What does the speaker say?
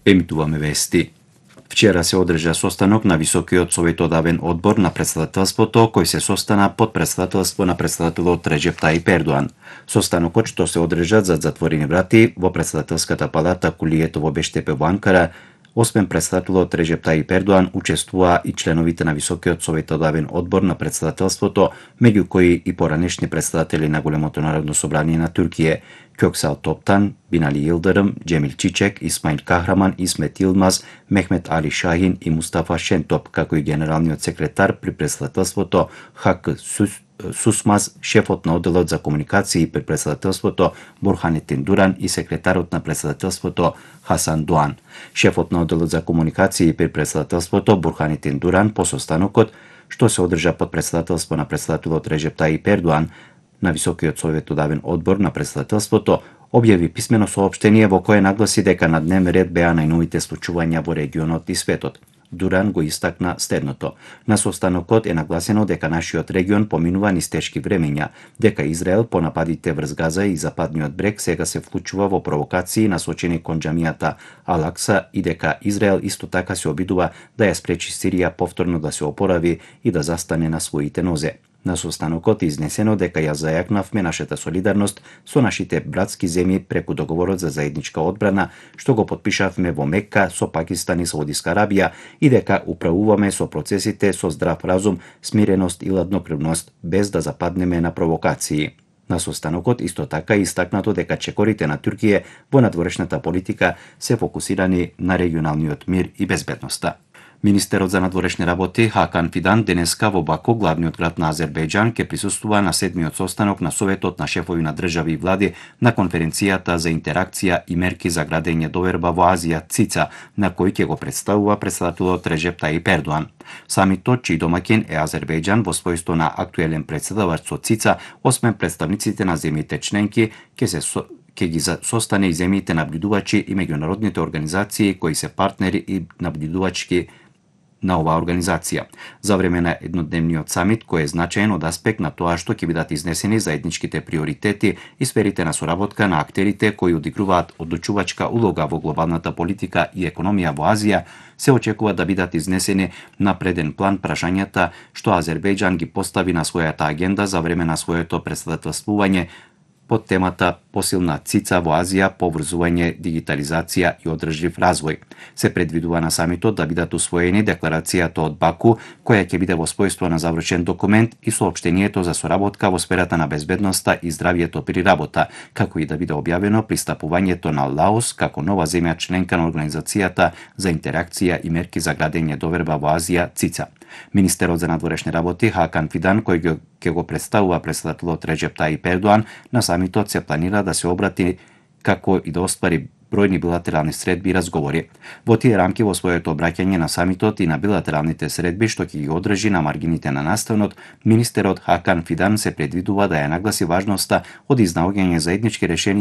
Емитуваме вести. Вчера се одржа состанок на Високиот советодавен одбор на претседателството, кој се состана под претседателство на претседателот Реджеп Таип Ердоан. Состанокот што се одржа зад затворени врати во претседателската палата Кулието во Бештепе во Анкара, освен претседателот Реджеп Таип Ердоан, учествуваа и членовите на Високиот советодавен одбор на претседателството, меѓу кои и поранешни претседатели на Големото народно собрание на Туркија, Кьоксал Топтан, Бинали Йылдырым, Джемил Чичек, Исмаил Кахраман, Исмет Йылмаз, Мехмет Али Шахин и Мустафа Шентоп, како и генералниот секретар при претседателството Хак Сусмаз, шефот на одделот за комуникации при претседателството Бурханетин Дуран и секретарот на претседателството Хасан Дуан. Шефот на одделот за комуникации при претседателството Бурханетин Дуран по состанокот, што се одржа под претседателство на претседателот Реджеп Таип Ердоан на Високиот советодавен одбор на претседателството, објави писмено соопштение во кое нагласи дека на дневен ред беа најновите случувања во регионот и светот. Дуран го истакна следното: на состанокот е нагласено дека нашиот регион поминува низ тешки времења, дека Израел по нападите врз Газа и Западниот брег сега се вклучува во провокации насочени кон џамијата Ал-Акса и дека Израел исто така се обидува да ја спречи Сирија повторно да се опорави и да застане на своите нозе. На состанокот е изнесено дека ја зајакнавме нашата солидарност со нашите братски земји преку договорот за заедничка одбрана, што го потпишавме во Мекка со Пакистан и Саудиска Арабија, и дека управуваме со процесите со здрав разум, смиреност и ладнокрвност, без да западнеме на провокации. На состанокот исто така е истакнато дека чекорите на Туркија во надворешната политика се фокусирани на регионалниот мир и безбедноста. Министерот за надворешни работи Хакан Фидан денеска во Баку, главниот град на Азербејџан, ќе присуствува на 7-миот состанок на Советот на шефови на држави и влади на конференцијата за интеракција и мерки за градење доверба во Азија ЦИЦА, на кој ќе го представува претседателот Реджеп Таип Ердоан. Самитот, чиј домаќин е Азербејџан во својство на актуелен претседавач со ЦИЦА, освен представниците на земјите членки, ќе ги состане и земјите наблюдувачи и меѓународните организации кои се партнери и наблюдувачки на оваа организација. За време на еднодневниот самит, кој е значаен од аспект на тоа што ќе бидат изнесени заедничките приоритети и сферите на соработка на актерите кои одигруваат одлучувачка улога во глобалната политика и економија во Азија, се очекува да бидат изнесени на преден план прашањата што Азербејџан ги постави на својата агенда за време на своето претседателствување под темата посилна ЦИЦА во Азија, поврзување, дигитализација и одржлив развој. Се предвидува на самитот да бидат усвоени декларацијата од Баку, која ќе биде во својство на завршен документ, и соопштението за соработка во сферата на безбедноста и здравието при работа, како и да биде објавено пристапувањето на Лаос како нова земја членка на Организацијата за интеракција и мерки за градење доверба во Азија ЦИЦА. Министерот за надворешни работи Хакан Фидан, кој ќе го представува претседателот Реджеп Таип Ердоан, на самитот се планира да се обрати како и да оствари бројни билатерални средби и разговори. Во тие рамки во своето обраќање на самитот и на билатералните средби што ќе ги одржи на маргините на настанот, министерот Хакан Фидан се предвидува да ја нагласи важноста од изнаоѓање заеднички решенија